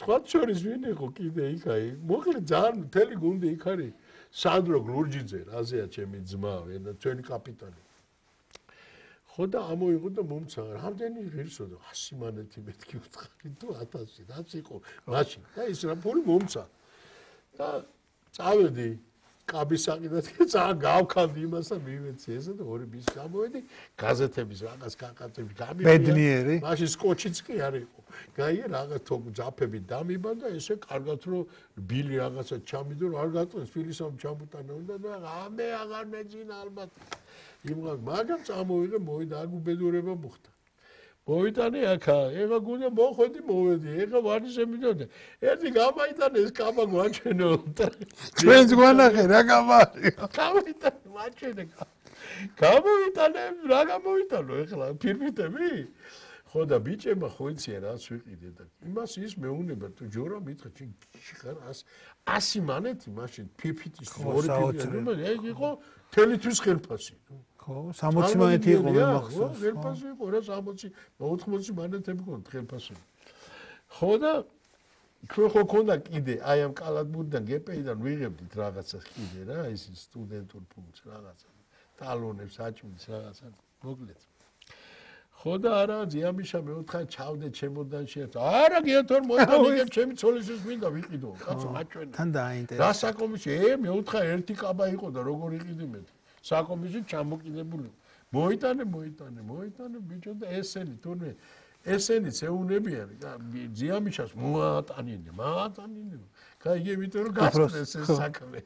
სხვა შორის ვინ იყო კიდე იქ აი მოკლედ ძალიან მთელი გუნდი იქ არის სანდრო გლურჯიძე რაზეა ჩემი ძმა ჩვენი კაპიტანი ხო და ამოიღო და მომცა რამდენი ღირსო და 100 მანეთი მეთქი უთხარი თუ 1000 რაც იყო მაშინ და ის რა ფული მომცა და წავედი კაბისაკიდად ძალიან გავქანდი იმას და მივეცი ესე და ორი ბის გამოვედი გაზეთების რაღაც კაკაწები გამიგია ბედნიერი მაშინ სკოჩიც კი არ იყო გაიგე რაღაც თო ძაფები დამიბა და ესე კარგად რომ ბილი რაღაცა ჩამიდო არ გაწონს ფილისამ ჩამუტანა უნდა და ამე აღარ მეძინა ალბათ იმღა მაგრამ წამოვიღე მოვიდა აქ უბედურება მოხდა მოვიტანე აქა ეხა გუნდა მოხვედი მოვედი ეხა ვარჯიშზე მიდოდა ერთი გამაიტანე ეს კაბა გვაჩვენო ჩვენს გვანახე რა გამარიო გამაიტანე ვაჩვენე გამოვიტანე რა გამოვიტანო ეხლა ფირფიტები ხო და ბიჭებმა ხო იციან რაც ვიყიდე და იმას ის მეუნება თუ ჯორა მითხრა შეხარ 100 მანეთი მაშინ ფირფიტის ორი ფირფიტი ეგ იყო თელთვის ხელფასი ხო 60 მანეთი იყო მე მახსოვს ხელფასი იყო რა 60 80 მანეთები ყო ხელფასი ხო და ჩვენ ხო ქონდა კიდე აი ამ კალათბურთიდან გპ-დან ვიღებდით რაღაცას კიდე რა ის სტუდენტურ ფულს რაღაცა ტალონებს აჭმის რაღაცა მოკლედ ხო და არა ძიამიშა მეოთხე ჩავდე ჩემოდანში არა გიათორ მოიტანიგებ ჩემი ცოლისთვის მინდა ვიყიდო კაცო აჭვენა თან დაინტერესა რა საკომისში მეოთხე ერთი კაბა იყო და როგორ იყიდი მე საკომისში ჩამოკიდებული მოიტანე ბიჭო და ესენი თურმე ესენიც ეუნებიან ძიამიშას მოატანინე გაიგე ვიტყვი რომ გასწრეს ეს საქმე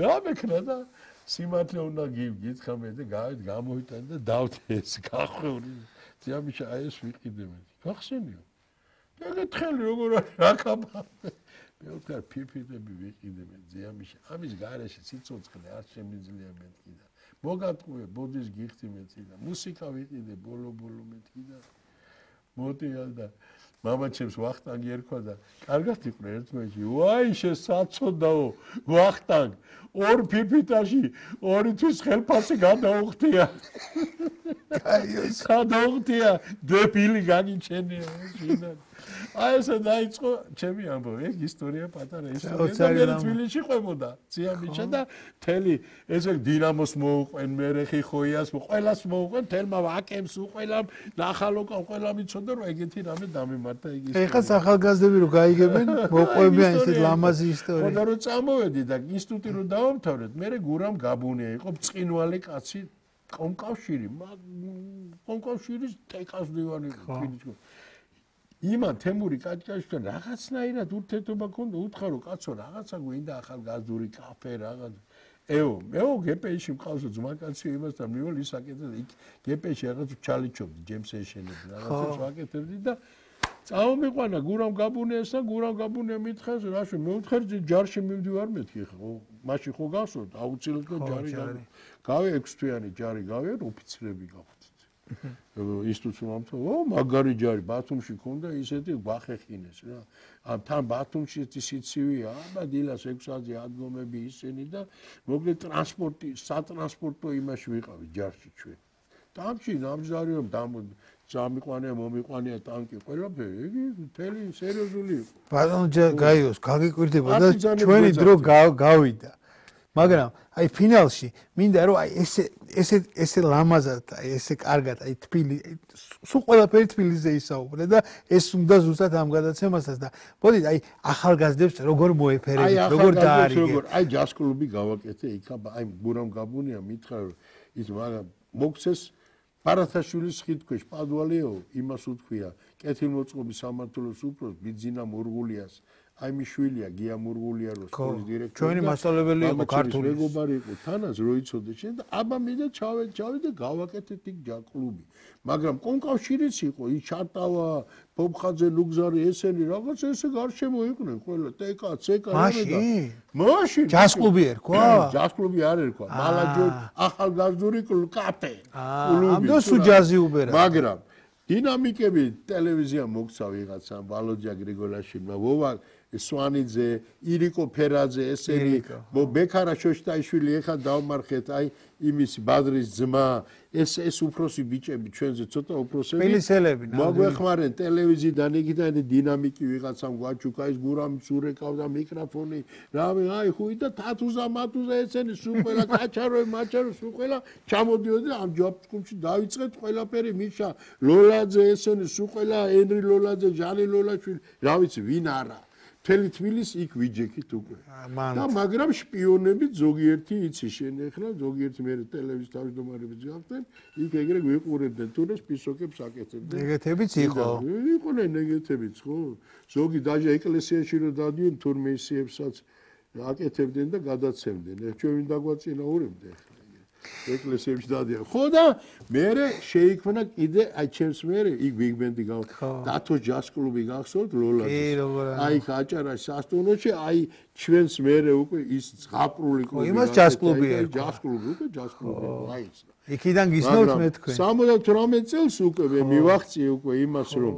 რა მეკრა და სიმართლე უნდა გითხრა მე და გავით გამოიტანე და დავთე ეს გახვეული ძიამიშა აი ეს ვიყიდე მე გახსენიო ეგ თხელი როგორ რა კაბა მე ვთქარ ფირფიტები ვიყიდე მე ძიამიშა ამის გარეშე სიცოცხლე არ შემიძლია მეთქი და მოგატყუე ბოდის გიხდი მეთქი და მუსიკა ვიყიდე ბოლო მეთქი და მოდიალ და მამაჩემს ვახტანგი ერქვა და კარგად იყო ერთმანეთში ვაი შესაცოდაო ვახტანგ ორ ფიფიტაში ორი თვის ხელფასი გადაუხტია გადაუხტია დებილი განიჩენია შინან აი ესე დაიწყო ჩემი ამბავი ეგ ისტორია პატარა ისტორია და თბილისში ყვებოდა ძიამიშა და თელი ესე დინამოს მოუყვენ მერეხი ხოიას ყველას მოუყვენ თელმა ვაკემს უყველამ ნახალოკა ყველა მიცოდა რომ ეგეთი რამე დამემართა ეგ ისტორია ეხა ახალგაზრდები რო გაიგებენ მოყვებიან ესეთ ლამაზი ისტორია ხოდა რომ წამოვედი და ინსტიტუტი რო დავამთავრეთ მე გურამ გაბუნია იყო ბრწყინვალე კაცი კომკავშირის ტეკას დივანი იყო იმან თემური კაჭკაშთან რაღაცნაირად ურთიერთობა ქონდა უთხარო კაცო რაღაცა გვინდა ახალგაზრდული კაფე რაღაც მეო გპ-ში მყავსო ძმაკაცი იმასთან მივალ ის აკეთე იქ გპ-ში რაღაც ჩალიჩობდი ჯემს ეშენები რაღაცას ვაკეთებდი და წავმიყვანა გურამ გაბუნიას და გურამ გაბუნია მითხეს რაში მეუთხარ ჯარში მივდივარ მეთქი ხო მაშინ ხო გასვოთ აუცილებლად ჯარი გავე 6 თვიანი ჯარი გავე ოფიცრები გავხდით ინსტიტუტში მომთო მაგარი ჯარი ბათუმში ქონდა ისეთი გვახეხინეს რა ამ თან ბათუმში სიცივია აბა დილას 6-ზე ადგომები ისენი და მოკლედ ტრანსპორტი სატრანსპორტო იმაში ვიყავი ჯარში ჩვენ ტანკში ნამჯდარიო წამიყვანია მომიყვანია ტანკი ყველაფერი იგი მთელი სერიოზული იყო ბატონო გაიოს გაგიკვირდება და ჩვენი დრო გავიდა მაგრამ აი ფინალში მინდა რომ აი ესე ლამაზად აი ესე კარგად აი თბილი სულ ყველაფერი თბილიზე ისაუბრე და ეს უნდა ზუსტად ამ გადაცემასაც და მოდით აი ახალგაზრდებს როგორ მოეფერებთ როგორ დაარიგეთ აი ჯაზ კლუბი გავაკეთე იქა აი გურამ გაბუნია მითხრა რომ ის მაგრამ მოგცეს პარათაშვილის ხიდქვეშ პადვალეო იმას უთქვია კეთილმოწყობის სამმართველოს უფროს ბიძინა მურღულიას აი მიშვილია გია მურღულია რო სკოლის დირექტორი ჩვენი მასწავლებელი იყო ქართული მეგობარი იყო თანაც რო იცოდე შენ და აბა მინდა ჩავედი გავაკეთეთ იქ ჯაკლუბი მაგრამ კონკავშირიც იყო ის ჩარტავა ბობხაძე ლუგზარი ესენი რაღაც ესე გარშემო იყვნენ ყველა ტეკა ცეკა მაშინ ჯაზკლუბი ერქვა ჯაზკლუბი არ ერქვა მალაჯო ახალგაზრდული კაფე ამდენ სულ ჯაზი უბერა მაგრამ დინამიკები ტელევიზია მოგცა ვიღაცა ვალოდია გრიგოლაშვილმა ვოვა სვანიძე, ირიკო ფერაძე, ესენი ბექარა შოშტაიშვილი ეხა დავმარხეთ, აი იმის ბადრის ძმა, ეს უფროსი ბიჭები ჩვენზე ცოტა უფროსები. პილისელები. მოგვეხმარენ ტელევიზიიდან იქიდან დინამიკი ვიღაცამ გვაჩუქა ის გურამის ურეკავდა მიკროფონი. რავი, აი ხუი და თათუზა მათუზა ესენი სულ ყველა კაჩაროე, მაჩარო სულ ყველა ჩამოდიოდნენ ამ ჯობსკუმში დავიწყეთ ყველაფერი მიშა, ლოლაძე ესენი სულ ყველა ენრი ლოლაძე, ჟანი ლოლაშვილი, რა ვიცი, ვინ არა. მთელი თბილისი იქ ვიჯექით უკვე. და მაგრამ შპიონები ზოგიერთი იცი შენ ახლა ზოგიერთი მე ტელევიზიის თავმჯდომარეებს გავხდნენ, იქ ეგრე გვიყურებდნენ თუნდაც პისოკებს აკეთებდნენ. ნეგეთებიც იყო. იყვნენ ნეგეთებიც, ხო? ზოგი დაჟე ეკლესიაში რომ დადიოდნენ თურმე ისიებსაც აკეთებდნენ და გადაცემდნენ. ჩვენ ვინ დაგვაწინაურებდა ახლა. ეკლესიებში დადიან. ხო და მერე შეიქმნა კიდე აი ჩემს მერე იქ ბიგბენდი დათო ჯაზ კლუბი გახსოვთ ლოლაძის. აი ხაჭარაში სასტუმროში აი ჩვენს მერე უკვე ის ზღაპრული კლუბი. იმას ჯაზ კლუბი ერქვა. ჯაზ კლუბი უკვე ჯაზ კლუბი. აი ის. იქიდან გისმენთ მე თქვენ. 78 წელს უკვე მე მივახციე უკვე იმას რომ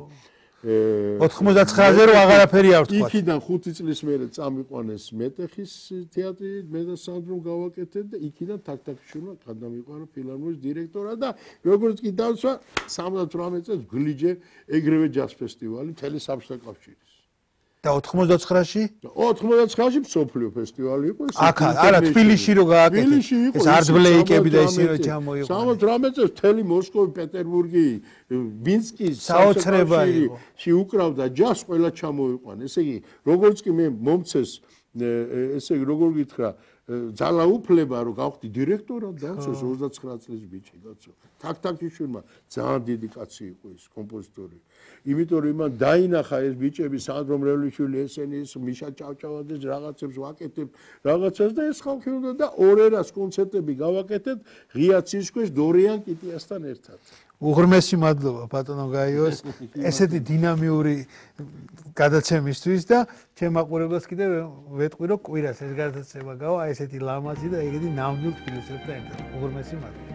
99-ზე რომ აღარაფერი არ ვთქვა. იქიდან 5 წლის მერე წამიყვანეს მეტეხის თეატრი, მე და სანდრომ გავაკეთეთ და იქიდან თაქთაქიშვილმა გადამიყვანა ფილარმონიის დირექტორად და როგორც კი დავსვა 78 წელს გლიჯე ეგრევე ჯაზ ფესტივალი მთელი საბჭოთა კავშირის. და 99-ში? 99-ში მსოფლიო ფესტივალი იყო. აქ არა თბილისში რო გააკეთეს. ეს არტბლეიკები და ისე რო ჩამოიყვანეს. 78 წელს მთელი მოსკოვი, პეტერბურგი, მინსკი, საუთრებაში უკრავდა ჯაზს ყველა ჩამოიყვანა. ესე იგი, როგორც კი მე მომცეს, ესე იგი, როგორ გითხრა, ძალაუფლება რომ გავხდი დირექტორად დავცეს 29 წლის ბიჭი კაცო. თაქთაქიშვილმა ძალიან დიდი კაცი იყო ის კომპოზიტორი. იმიტომ რომ იმან დაინახა ეს ბიჭები სანდრომ რელიშვილი ესენი ის მიშა ჭავჭავაძეს რაღაცებს ვაკეთებ რაღაცას და ეს ხალხი უნდა და ორერას კონცერტები გავაკეთეთ ღია ცისქვეშ დორიან კიტიასთან ერთად. უღრმესი მადლობა ბატონო გაიოს ესეთი დინამიური გადაცემისთვის და ჩემ მაყურებელს კიდევ ვეტყვი რომ კვირას ეს გადაცემა გავა ესეთი ლამაზი და ეგეთი ნამდვილ თბილისელთან ერთად. უღრმესი მადლობა.